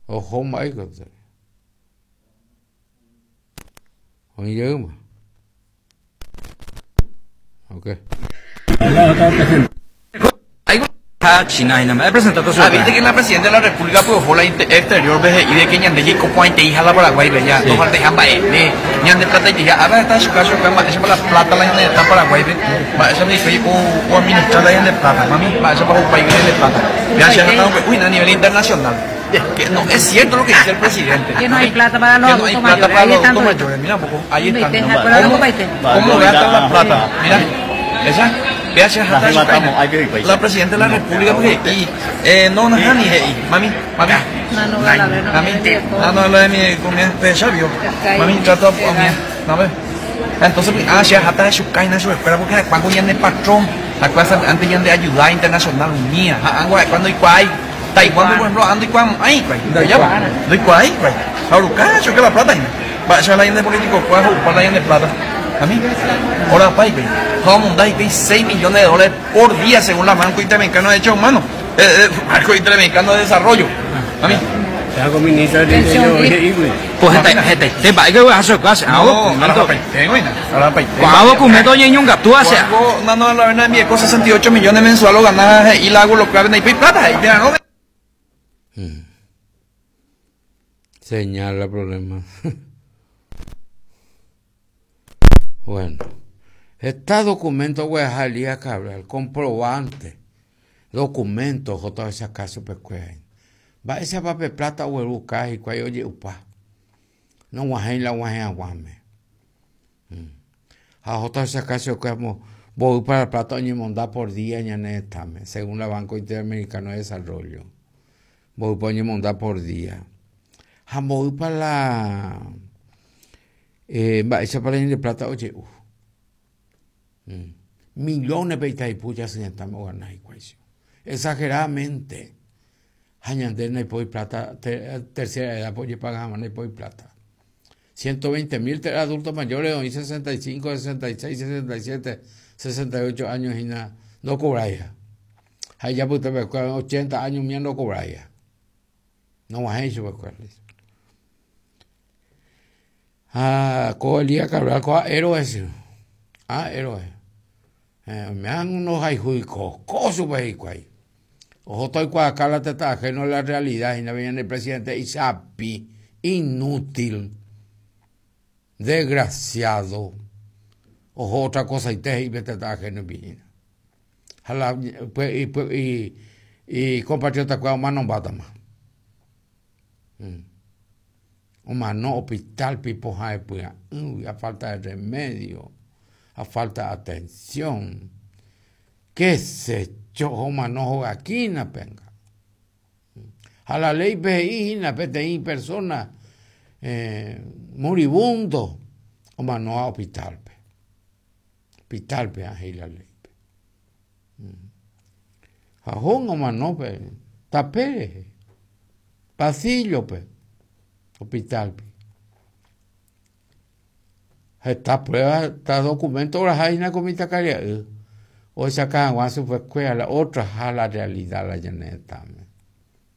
Oho mba'éiko Oĩ jeýma. Ok. China hína mba'e presentata Ah, viste que la presidenta de la República pues oho la exterior pe he'i de que ñande jaiko porãiteiha la Paraguáipe ja ndofaltaiha mba'eve ñande plataiteiha ára heta chuka chuka mba'éichapa la plata la ñane retã Paraguáipe mba'éichapa hikuái oadministra la ñande plata mami mba'éichapa hupáipe ñande plata péa che heta omombe'u hína a nivel internacional que no es cierto lo que dice el presidente Que no hay plata para los que no hay adultos plata mayores. para Ahí los están adultos toditos. mayores mira un poco ahí están Inviten, acuérdate, ¿Cómo, compa, cómo gastan la plata mira esa vea si La hasta la presidenta de la república porque y eh, no nahani he'i mami mami No, no, la ver, no, mami no, ah no la de mi comida pe vio mami trata a mí no ve entonces pues, ah si hasta chukaina su escuela porque cuando ñande patrón la cosa antes ñande ayuda internacional unida ah cuando ikuái Taiwán por ejemplo ando ikuái ay ikuái ya do ikuái ikuái ahora choque la plata va la ñande político cuál la ñande plata a mí ahora pa ikuái ha omondá hikuái 6 millones de dólares por día según la Banco Interamericano de Derechos Humanos eh, eh, Banco Interamericano de Desarrollo a mí Hago ministro del Interior he'ígui. Pues heta hetaite mba'éiko ogueraha chupe che no documento. arapaite güey arapaite Ko'ã documento oñeñongatu ha che. Cuando no no la verdad mi 68 millones mensual lo ganaba y la hago lo clave no hay plata y no Señala problema. Bueno, heta documento ogueraha Elías Cabral, comprobante, documento ohóta ohechauka chupekuéra. Mba'éichapa pe plata ogueruka hikuái oje'upa. Nog̃uahẽi la og̃uahẽ haguãme. Ha ohóta ohechauka chupekuéra mboýpa la plata oñemonda por día ñane retãme, según la Banco Interamericano de Desarrollo. Mboýpa oñemonda por día. Ha mboýpa la eh, mba'éichapa la ñande plata oje'u. Mm. Millones pe Itaipu jasy retãme ogana hikuái. Exageradamente. Ha ñande ndaipói plata tercera edad ojepaga hag̃ua ndaipói plata. 120 mil adultos mayores oĩ 65, 66, 67, 68 años hína ndokobraiha. Ha ijapytepekuéra 80 años umíva ndokobraiha. Nog̃uahẽi chupekuéra. Ha ko Elías Cabral ko héroe che. Ah, héroe. Eh, oime'ã ndohayhúi ko, ko chupe hikuái. Ohóta oikuaaka la tetã ajeno la realidad hína pe ñande presidente ichapi, inútil, desgraciado. Oho otra cosaite he'i pe tetã ajeno hína. Ha la y, y, y, y compatriota kuéra omanombátama. Mm. Omano hospital-pe ipohãepya'ỹgui a falta de remedio, a falta de atención. Qué sé yo, omano hogakínape anga. Ha la ley-pe he'i hína peteĩ persona eh, moribundo omanóva hospital-pe. Hospital-pe he'i la ley-pe. Ha Jón omano pe tape rehe, pasillo-pe, hospital-pe. Heta prueba, heta documento oraha hína ko mitãkaria'y ohechauka hag̃ua chupekuéra la otraha la realidad la ñane retãme.